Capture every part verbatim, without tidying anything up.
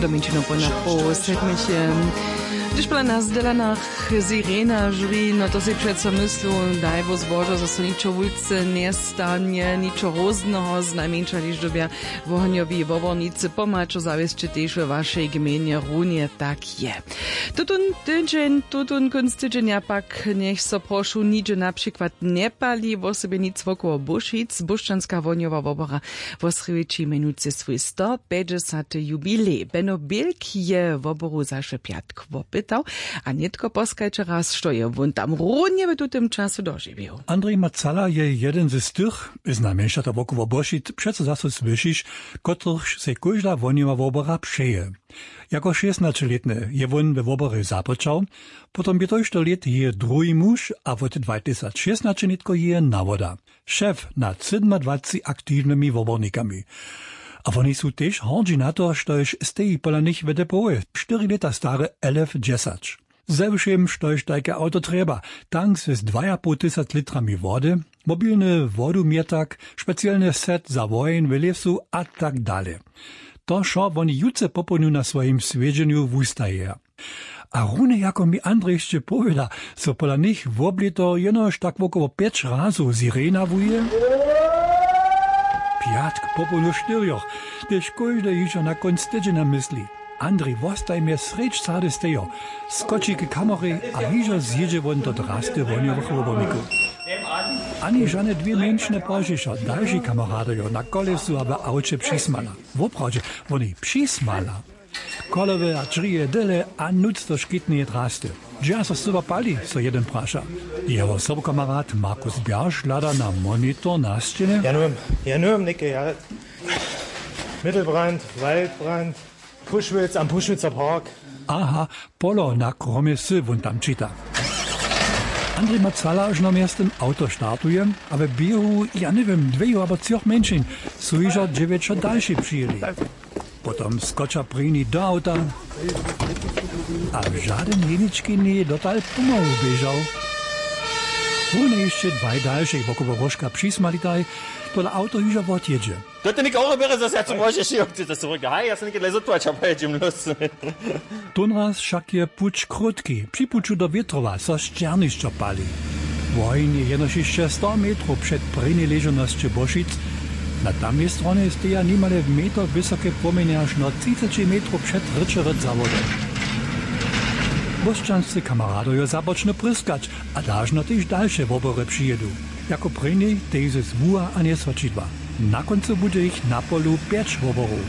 Dominčino po napoł sedmich. Hdyž pola nas w Delanach sirena žwi, no to sej přeco myslu, daj Bóh zbožo, zo so ničo wulce njestanje, ničo hrózneho, znajmjeńša hdyž dyrbja wohnjowi wobornicy pomhačo zawěsće tež we wašej gmejnje runje tak je. Tutón tydźeń, tutón kónc tydźenja pak njech so prošu nihdźe na přikład njepali, wosebje nic wokoło Bóšic. Bóšćanska wohnjowa wobora wosrědči mjenujcy swój stopjećdźesaty jubilej. Beno Bilk je woboru zašły pjatk wopytał, a nětko poskajće raz, što je wón tam runje w tutym času dožiwił. Andrej Macala je jeden z tych, znajmjeńša to wokoło Bóšic přeco zaso słyšiš, kotrychž sej kóžda wohnjowa wobora přeje. Jako šěsnaćelětny je wón we woborje započał, potom bě tójšto lět jeje druhi muž a wot dwatysacšěsnaće nětko jeje nawoda. Šef nad sydomadwacci aktiwnymi wobornikami. A woni su tež hordźi na to, štož steji pola nich w depołoj, štyri lěta stary L F dźesać. Ze wšěm, štož tajke awto trjeba, tank z dwajapołtysac litrami wody, mobilny wodumjetak, specielny set za woheń w lěsu a tak dale. To wšo woni jutře popołdnju na swojim swjedźenju wustajeja. A runje jako mi Andrej hišće powěda, so pola nich woblěto jenož tak wokoło pjeć razow sirena wuje. Pjatk popołdnju štyrjoch, tež kóždy hižo na kónc tydźenja mysli. Andrej wostajmje srjedź sady stejo, skoči k kamorej a hižo zjědźe wón do drasty wohnjowych wobornikow. Ani žane dwě mjeńšiny pozdźišo dalši kameradojo na kolesu a w awće přismala. Woprawdźe, woni přismala. Kolowe a dźrije dyle a nutř do škitneje drasty. Dźe so scyła pali, so jedyn praša. Jeho sobukamerad Markus Bjarš hlada na monitor na sćěnje. Janujom, janujom něke, ja. Mittelbrand, Waldbrand, Pušwitz am Pušwitzer Park. Aha, polo na kromje sy wón tam čita. Andrej Macala žno mjeztym awto startuje a we běhu, ja njewěm, dweju abo třoch mjeńšin su hižo dźewjećo dalši přijěli. Potom skoča prěni do awta a žadyn jenički njeje dotal pomału běžał. Runje hišće dwaj dalšej wokoło róžka přismalitaj, tola awto hižo wotjědźe. To ty něke oro běre, zaso ja co móžeš, jo, ty to so haj, ja so něke dlej zotłać a pojedźem los. Tónraz wšak je puć krótki, při puću do Wětrowa so sćernišćo pali. Woheń je jenož hišće sto metrow před prěnjej ležownosće Bóšic. Na tamnej stronje steja nimale w meter wysoke płomjenje, až na třiceći metrow před Ryćerec za wodom. Bóšćanscy kameradojo započnu pryskać a dažno tež dalše wobory přijědu. Jako prěnjej tež z wuha a njeswaćidła. Na kóncu budźe jich na polu pjeć woborow.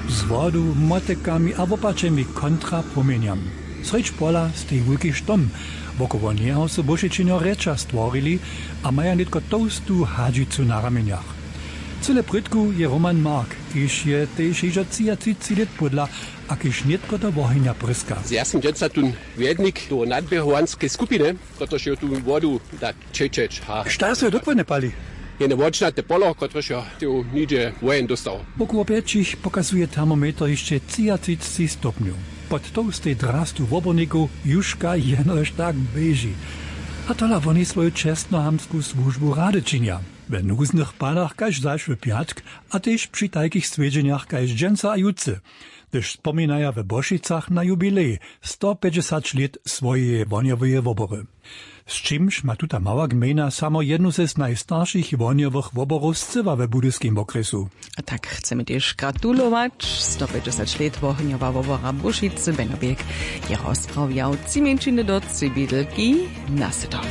Z wodu, motykami a wopačemi kontra płomjenjam. Srjedź pola steji wulki štom. Wokoło njeho su Bóšičenjo rěča stworili a maja nětko tołstu hadźicu na ramjenjach. Cyle prědku je Roman Mark, kiž je tež hižo třiatřiceći lět pódla a kiž nětko do wohenja pryska. Ja sym dźensa tón wjednik toho nadběhowanskej skupiny, kotryž je tu wodu da čečeć. Ha. Šta so je dokładnje pali? Jene wodšnate polo, kotrež jo tu nihdźe wojen dóstał. Wokoło pjećich pokazuje termometer hišće třiatřiceći stopnjow. Pod tołstej drastu wobornikow južka jenož tak běži. A tola woni swoju čestnohamtsku słužbu rady činja. We nuznych padach kaž zašły pjatk a tež při tajkich swjedźenjach kaž dźensa a jutře, hdyž spominaja we Bóšicach na jubilej stopjećdźesać lět swojeje wohnjoweje wobory. Z čimž ma tuta mała gmejna samo jednu z najstaršich wohnjowych woborow scyła we Budyskim wokrjesu. A tak chcemy tež gratulować. Stopjećdźesać lět wohnjowa wobora Bóšicy, Beno Běk je rozprawjał. Tři mjeńšiny do tři bědlki na sydom.